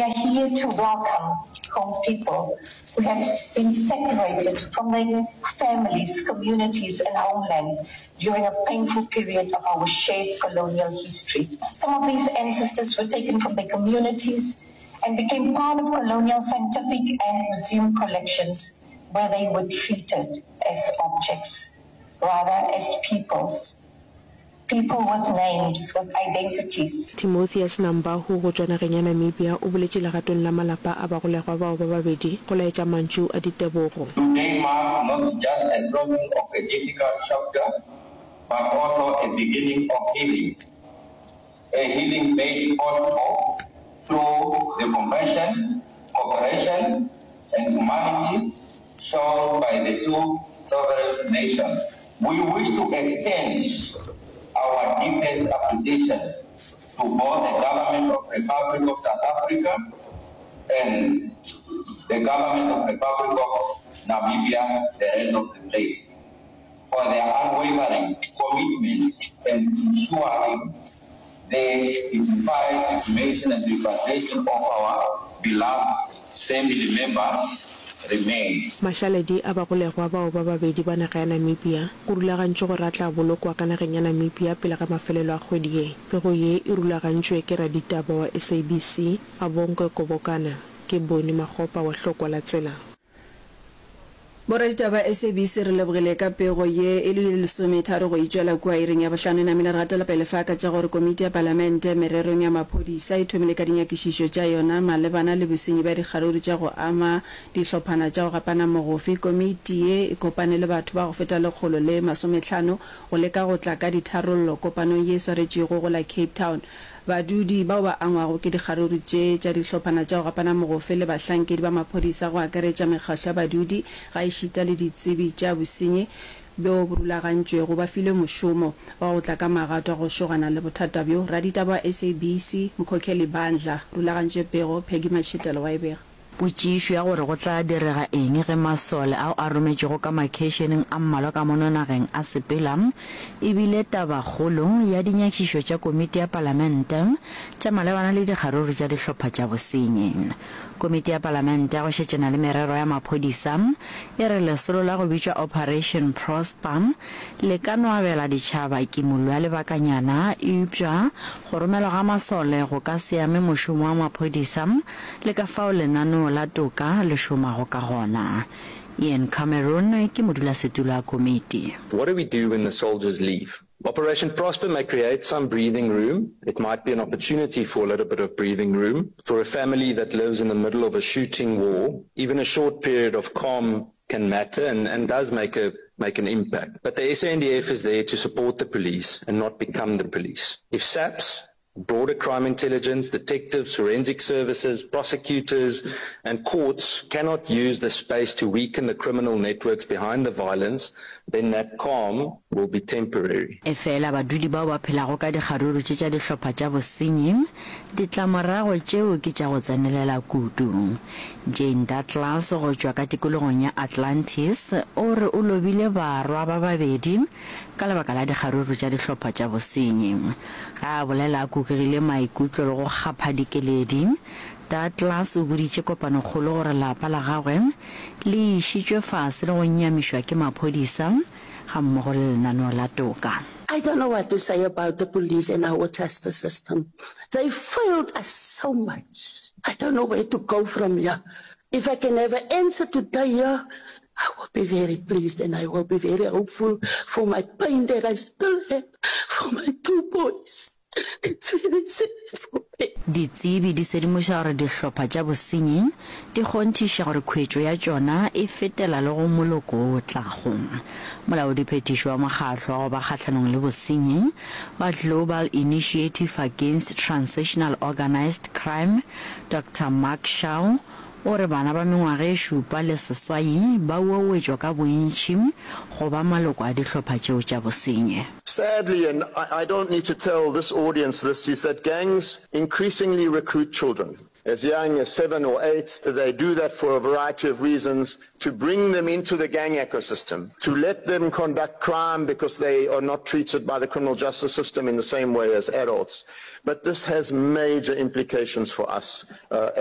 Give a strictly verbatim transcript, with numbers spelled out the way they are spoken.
We are here to welcome home people who have been separated from their families, communities and homeland during a painful period of our shared colonial history. Some of these ancestors were taken from their communities and became part of colonial scientific and museum collections where they were treated as objects, rather as peoples. People with names, with identities. Timotheus Nambahu go tšwa nageng ya Namibia o boletše legatong la malapa a bagolegwa bao ba babedi go laetša mantšu a ditebogo. Today marks not just a closing of a difficult chapter, but also a beginning of healing, a healing made possible through the compassion, cooperation and humanity shown by the two sovereign nations. We wish to extend our deepest appreciation to both the government of Republic of South Africa and the government of Republic of Namibia, the rest of the place, for their unwavering commitment in ensuring the dignified exhumation and repatriation of our beloved family members remain. Mašaledi a bagolegwa bao ba babedi ba naga ya Namibia go rulagantšwe gore a tla bolokwa ka nageng ya Namibia pele ga mafelelo a kgwedi ye. Pego ye e rulagantšwe ke raditaba wa S A B C, Abongwe Kobokana. Ke Boni Makgopa wa Hlokwa la Tsela. Boraditaba S A B C re lebogile ka pego ye. E le lesometharo go itšwela kua iring ya bohlano e namile re gatela pele fa ka tša gore komiti ya palamente mererong ya maphodisa e thomile ka dinyakišišo tša yona malebana le bosenyi bja dikgaruru tša go ama dihlophana tša go gapana mogofe. Komiti ye e kopane le batho ba go feta lekgolo le masomehlano go leka go tla ka ditharollo kopanong ye e swaretšwego go la Cape Town. Badudi bao ba angwago ke dikgaruru tše tša dihlophana tša go gapana mogofe le bahlankedi ba maphodisa go akaretša mekgahlo ya badudi gaešita le ditsebi tša bosenyi bjo bo rulagantšwego ba filwe mošomo wa go tla ka magato a go šogana le bothata bjo. Raditaba wa S A B C, Mkhokheli Bandla, rulagantše pego, Peggy Matšhitelo wa e bega. Potšišo ya gore go tla direga eng ge masole ao a rometšwego ka makheišeneng a mmalwa ka mono nageng a sepela, e bile tabakgolo ya dinyakišišo tša Komiti ya Palamente tša malebana le dikgaruru tša dihlopha tša bosenyi. Komiti ya Palamente ya go šetšana le merero ya maphodisa e re lesolo la go bitšwa Operation Prosper le ka no abela ditšhaba kimollo ya lebakanyana, eupša go romelwa ga masole go ka se ame mošomo wa maphodisa le ka fao lenaneo la toka le šomago ka gona. Ian Cameron ke modulasetulo a komiti. What do we do when the soldiers leave? Operation Prosper may create some breathing room. It might be an opportunity for a little bit of breathing room. For a family that lives in the middle of a shooting war, even a short period of calm can matter and, and does make a make an impact. But the S A N D F is there to support the police and not become the police. If SAPS, broader crime intelligence, detectives, forensic services, prosecutors and courts cannot use the space to weaken the criminal networks behind the violence, then that calm will be temporary. Efela badudi bao ba phelago ka dikgaruru tše tša dihlopha tša bosenyi, ditlamorago tšeo ke tša go tsenelela kudu. Jane Douglas go tšwa ka tikologong ya Atlantis o re o lobile barwa ba babedi ka lebaka la dikgaruru tša dihlopha tša bosenyi. Ge a bolela a kukegile maikutlo le go kgapha dikeledi, Douglas o boditše kopanokgolo gore lapa la gagwe le išitšwe fase le go nyamišwa ke maphodisa gammogo le lenaneo la toka. I don't know what to say about the police and our justice system. They failed us so much. I don't know where to go from here. If I can have an answer today here, I will be very pleased and I will be very hopeful for my pain that I still have for my two boys. It's very sad for me. Ditsebi di sedimoša gore dihlopha tša bosenyi di kgonthiša gore khwetšo ya tšona e fetela le go moloko o tlago. Molaodiphethiši wa mokgatlo wa go ba kgahlanong le bosenyi wa Global Initiative Against Transnational Organised Crime, Doctor Mark Shaw, o re bana ba mengwaga e šupa le seswai ba uauetšwa ka bontši go ba maloko a dihlopha tšeo tša bosenyi. Sadly, and I, I don't need to tell this audience this, is that gangs increasingly recruit children as young as seven or eight. They do that for a variety of reasons, to bring them into the gang ecosystem, to let them conduct crime because they are not treated by the criminal justice system in the same way as adults. But this has major implications for us uh, as